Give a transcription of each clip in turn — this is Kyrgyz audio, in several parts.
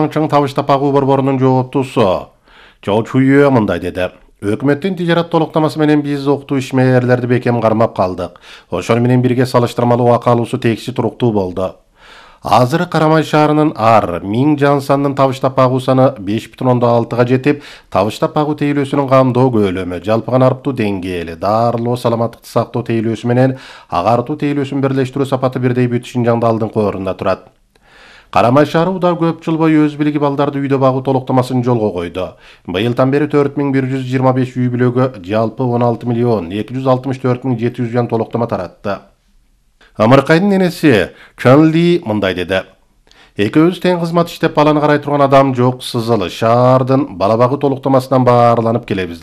Чаңчың табыштап багуу борборунун жооптусу Чоо Чуйе мындай деди. Өкмөттүн тижарат толуктамасы менен биз окутуу ишмерлерди бекем кармап калдык. Ошону менен бирге салыштырмалуу акы алуусу текси туруктуу болду. Азыр Карамай шаарынын ар 1000 жан санынын табыштап багуу саны 5,6 жетип, табыштап багуу тейлөөсүнүн камдоо көлөмү, жалпыган арыптуу деңгээли, дарылоо саламаттыкты сактоо тейлөөсү менен агартуу тейлөөсүн бирлештирүү сапаты бирдей бүт Шинжаңда алдыңкы орунда турат. Карамай шаары уда көп жыл бою өз билиги балдарды үйдө багуу толуктамасын жолго койду. Быйылдан бери 4125 үй бүлөгө жалпы 16,264,700 жан толуктама таратты. Амыркайдын энеси Чан Ли мындай деди. Экөөбүз тең кызмат иштеп баланы карай турган адам жок, сызылы шаардын бала багуу толуктамасынан баарланып келебиз.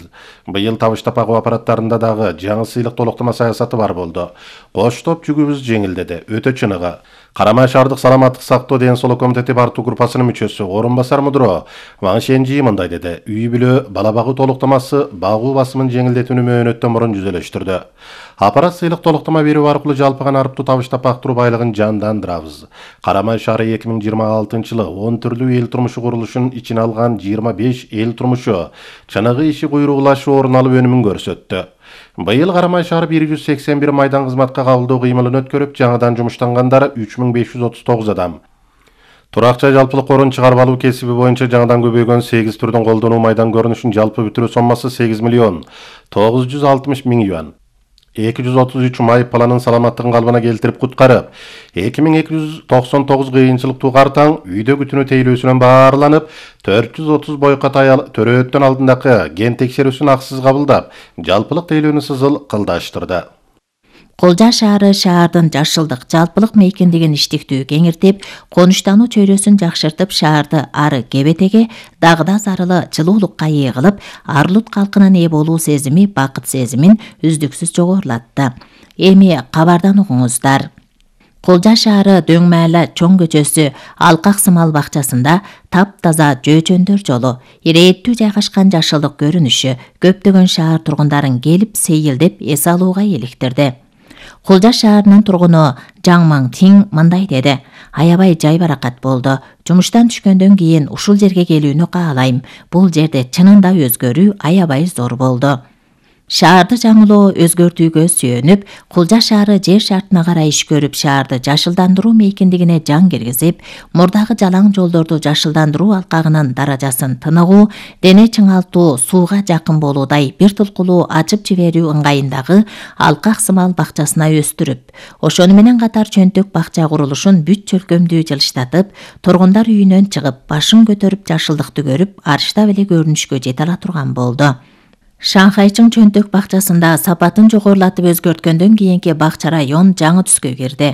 Быйыл табыштап багуу аппараттарында дагы жаңы сыйлык толуктама саясаты бар болду. Кош топ жүгүбүз жеңилдеди, өтө чыныгы. Карамай шаардык саламаттык сактоо ден соолук комитети бартуу группасынын мүчөсү орун басар мудро Ван Шенжи мындай деди. Үй бүлө бала багуу толуктамасы багуу басымын жеңилдетүүнү мөөнөттөн мурун жүзөлөштүрдү. Аппарат сыйлык толуктама берүү аркылуу жалпыган арыптуу табыштап бактыруу байлыгын жандандырабыз. Карамай шаары 2026-жылы 10 түрлүү эл турмушу курулушун ичине алган 25 эл турмушу чыныгы иши куйругулашы орун алып өнүмүн көрсөттү. Быйыл Карамай шаары 181 майдан кызматка кабылдоо кыймылын өткөрүп, жаңыдан жумуштангандар 3539 адам. Турак жай жалпылык орун чыгарып алуу кесиби боюнча жаңыдан көбөйгөн 8 түрдүн колдонуу майдан көрүнүшүн жалпы бүтүрүү соммасы 8,960,000 юан. 233 май планын саламаттыгын калыбына келтирип куткарып, 2299 кыйынчылыктуу картаң үйдө күтүнүү тейлөөсүнөн баарланып, 430 бойкот аял төрөөттөн алдындагы ген текшерүүсүн акысыз кабылдап, жалпылык тейлөөнү сызыл кылдаштырды. Колжа шаары шаардын жашылдык, жалпылык мейкиндигин иштиктүү кеңиртип, конуштануу чөйрөсүн жакшыртып, шаарды ары кебетеге, дагыда зарылы жылуулукка ээ кылып, арлут калкынын ээ болуу сезими, бакыт сезимин үздүксүз жогорулатты. Эми кабардан угуңуздар. Колжа шаары Дөң Маала чоң көчөсү Алкак сымал бакчасында таптаза жөөчөндөр жолу, ирээттүү жайгашкан жашылдык көрүнүшү көптөгөн шаар тургундарын келип сейилдеп эс алууга иликтирди. Колжа шаарынын тургуну Жаңмаң Тиң мындай деди. Аябай жай баракат болду. Жумуштан түшкөндөн кийин ушул жерге келүүнү каалайм. Бул жерде чынында өзгөрүү аябай зор болду. Шаарды жаңылоо өзгөртүүгө сүйөнүп, Колжа шаары жер шартына карай иш көрүп, шаарды жашылдандыруу мейкиндигине жан киргизип, мурдагы жалаң жолдорду жашылдандыруу алкагынын даражасын тыныгуу, дене чыңалтуу, сууга жакын болуудай бир тулкулуу ачып жиберүү ыңгайындагы Алкак сымал бакчасына өстүрүп, ошону менен катар чөнтөк бакча курулушун бүт чөлкөмдүү жылыштатып, тургундар үйүнөн чыгып, башын көтөрүп жашылдыкты көрүп, арыштап эле көрүнүшкө жете ала турган болду. Шанхайчың чөнтөк бакчасында сапатын жогорулатып өзгөрткөндөн кийинки бакча район жаңы түскө кирди.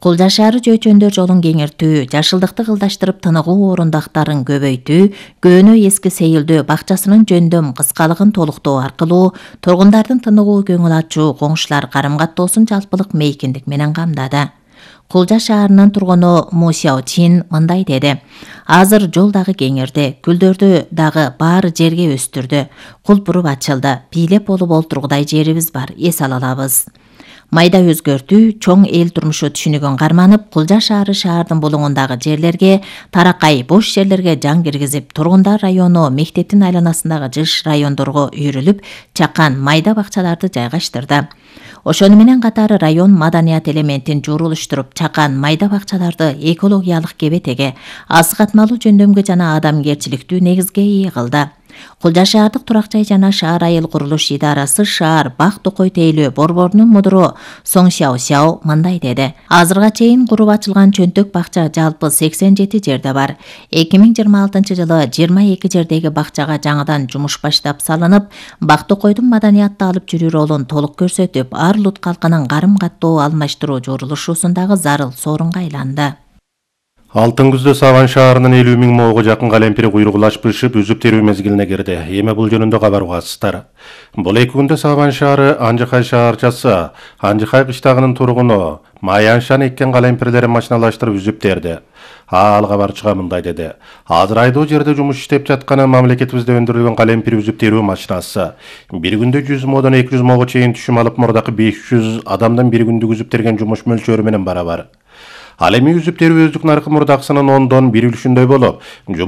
Колжа шаары жөөчөндөр жолун кеңиртүү, жашылдыкты кылдаштырып тыныгуу орундактарын көбөйтүү, көөнө эски сейилдөө бакчасынын жөндөм кыскалыгын толуктоо аркылуу тургундардын тыныгуу көңүл ачуу, коңшулар карым каттоосун жалпылык мейкиндик менен камдады. Колжа шаарынын тургуну Му Сяо Чин мындай деди. Азыр жол дагы кеңирди, гүлдөрдү дагы баары жерге өстүрдү. Кулпуруп ачылды, бийлеп болуп олтургудай жерибиз бар, эс ала алабыз. Майда өзгөртүү, чоң эл турмушу түшүнүгүн карманып, Колжа шаары шаардын булуңундагы жерлерге, таракай бош жерлерге жан киргизип, тургундар району мектептин айланасындагы жыш райондорго үйрүлүп, чакан майда бакчаларды жайгаштырды. Ошону менен катары район маданият элементин журулуштуруп, чакан майда бакчаларды экологиялык кебетеге, аз катмалуу жөндөмгө жана адамгерчиликтүү негизге ээ кылды. Колжа шаардык турак жай жана шаар айыл курулуш идарасы шаар бак токой тейлөө борборунун мудуру Соң Сяо Сяо мындай деди. Азырга чейин куруп ачылган чөнтөк бакча жалпы 87 жерде бар. 2026-жылы 22 жердеги бакчага жаңыдан жумуш баштап салынып, бак токойдун маданиятты алып жүрүү ролун толук көрсөтүп, арлут калкынын карым каттоо алмаштыруу журулушусундагы зарыл сорунга айланды. Алтын күздө Саван шаарынын 50,000 моого жакын калемпири куйругулаш бышып, үзүп терүү мезгилине кирди. Эми бул жөнүндө кабар угасыздар. Бул 2 күндө Саван шаары Анжыкай шаарчасы, Анжыкай кыштагынын тургуну Маяншан эккен калемпирлерин машиналаштырып үзүп терди. Ал кабарчыга мындай деди. Азыр айдоо жерде жумуш иштеп жатканы мамлекетибизде өндүрүлгөн калемпир үзүп терүү машинасы. Бир күндө 100 модон 200 моого чейин түшүм алып, мурдакы 500 адамдан бир күндүк үзүп терген жумуш мөлчөрү менен барабар. Ал эми үзүп терүү өздүк наркы мурдакысынын 10дон 1 үлүшүндөй болуп,